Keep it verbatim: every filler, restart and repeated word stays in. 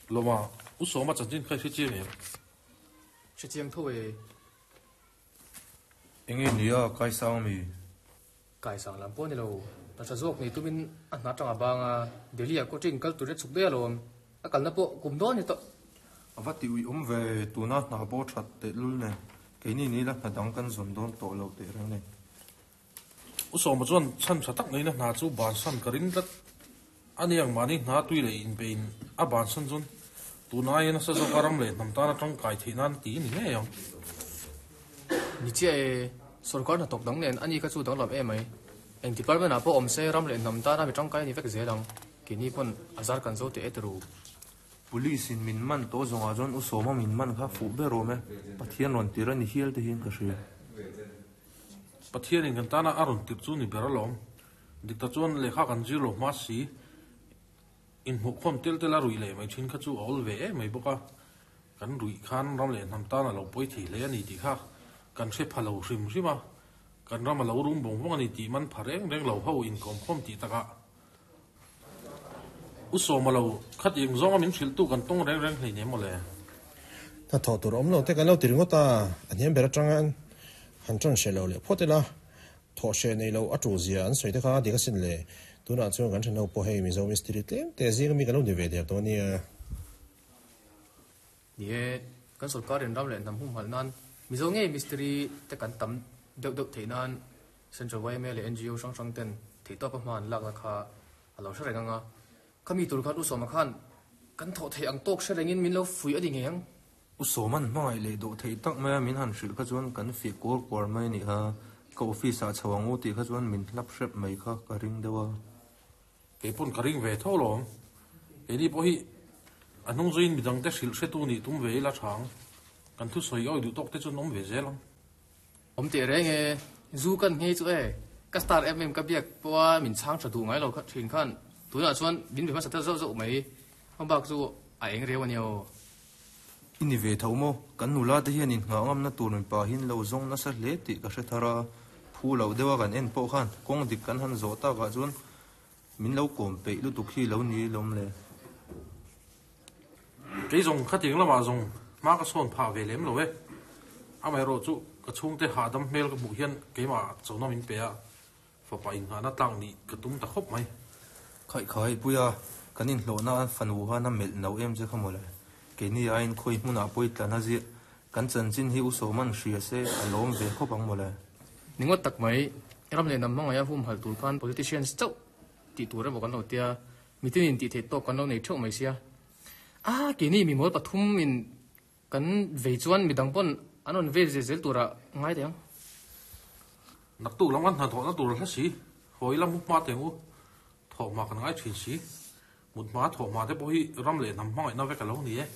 Lawma, U Sawma chanchin kha i hre chiang em? Hre chiang tho e. Enge nia kaisang mi? Kaisang lam pawh ni lo, hna tha zawk nei tumin a hna tang a bang a, Delhi ah coaching kal tur a chhuk daih alawm, a kalna pawh kum dawn ni tawh. A va ti uih awm ve, tuna hna pawh that tehlul nen, keini ni la hna dang kan zawn dawn tawh lo teh reng nen. U Sawma chuan chhan tha tak ngeina hna chu bansan ka ring tlat a ni ang, mahni hna tui leh inpein a bansan chuan tun aia nasa zawka ram leh hnam tana tangkai theih nan ti ni ngei ang. Ni chiah e, sorkar hnathawk dang nen ani kha chu danglam em mai. Eng department ah pawh awm se ram leh hnam tana mi tangkai a ni vek zel ang, keini pawn a zar kan zo teh e turu. Police in min man tawh zawngah chuan U Sawma min man kha fuh ber awm e, Pathian rawn tir a ni hial te hian ka hria. Pathian in kan tana a rawn tir chu ni ber alawm. Dik tak chuan lehkha kan zir lo hma si, inhmuhkhawm tel tel a ruih leh mai thin kha chu a awl ve em mai bawk a, kan ruih khan ram leh hnam tan a lo pawi thei hle a ni tih kha kan hre pha lo hrim hrim a, kan ram a lo rum vawng vawng a ni tih man pha reng reng lo ho inkawmkhawm tih takah U Sawma lo khatiang zawnga min hrilhtu kan tawng reng reng hleinem maw le. Hnathawh tur awm lo te kan lo ti ringawt a, a hniam ber atanga han tan hreh lo leh phawt ila, thawh hreh nei lo a tul zia an sawi te kha dik asin le. Tunah chuan kan thenho pawh hei Mizo mistiri tlem te zinga mi kan lo ni ve der tawh a nia. Ni e, kan sorkarin ram leh hnam humhalh nan Mizo ngei mistiri te kan tam deuh deuh theih nan Central yma leh N G O hrang hrang ten theihtawp a hma an lakna kha a lo hre reng ang a, khami tur khan U Sawma khan kan thawh theih ang tawk hre rengin min lo fuih a ni ngei ang. U Sawma'n hmangaih leh dawh theih tak mai a min han hrilh kha chuan kan fih kuar kuar mai a nih kha. Ka office ah chho ang u tih kha chuan min hlap hrep mai kha ka ring deuh a. Kei pawn ka ring ve tho lawm. Keini pawh hi a hnung zuiin midangte hrilh hretu nih tum ve ila tha ang. Kan thusawi awi duh tawk te chuan awm ve zel ang. Awm teh reng e, zu kan nghei chu e, ka star em em ka biak pawha min chhang tha duh ngai lo thin khan tunah chuan min be hmasa ta zauh zauh mai, hmabak chu a eng reu a nia aw. I ni ve tho maw? Kan nula te hian inngah ngamna tur mipa hi an lo zawng nasa hle tih ka hre thar a, phu loh deuha kan en pawh khan kawng dik kan han zawh takah chuan min lo kawm peih lutuk hi lo ni lawm le. Kei zawng khatiang lamah zawng hma ka sawn phah ve lem lo e. Amaherawh chu ka chhungte hahdam hmel ka hmuh hian keimah chona min pe a, fapa inngahna tlak nih ka tum ta khawp mai. Khaihkhai Puia, kan inhlawhna an fanu khan a melh no em che kha mawle. Keini aiin khawi hmunah pawi tlan a ziah, kan chanchin hi U Sawman hria se a lawm ve khawp ang mawle. Ni ngawt tak mai, ram leh hnam hmangaih a humhalh tur khan politicians chauh tih tur emaw kan lo tia, mitinin tih theih tawk kan lo nei theuh mai sia. A, keini mimawl pathum in kan vei chuan midang pawn an rawn vei zel zel turah ngai teh ang. Naktuk lam kan hnathawhna tur hla si, hawi lam mu hma teng u, thawhhma kan ngai thin si. Mut hma thawhhma te pawh hi ram leh hnam hmangaihna vek a lo ni e.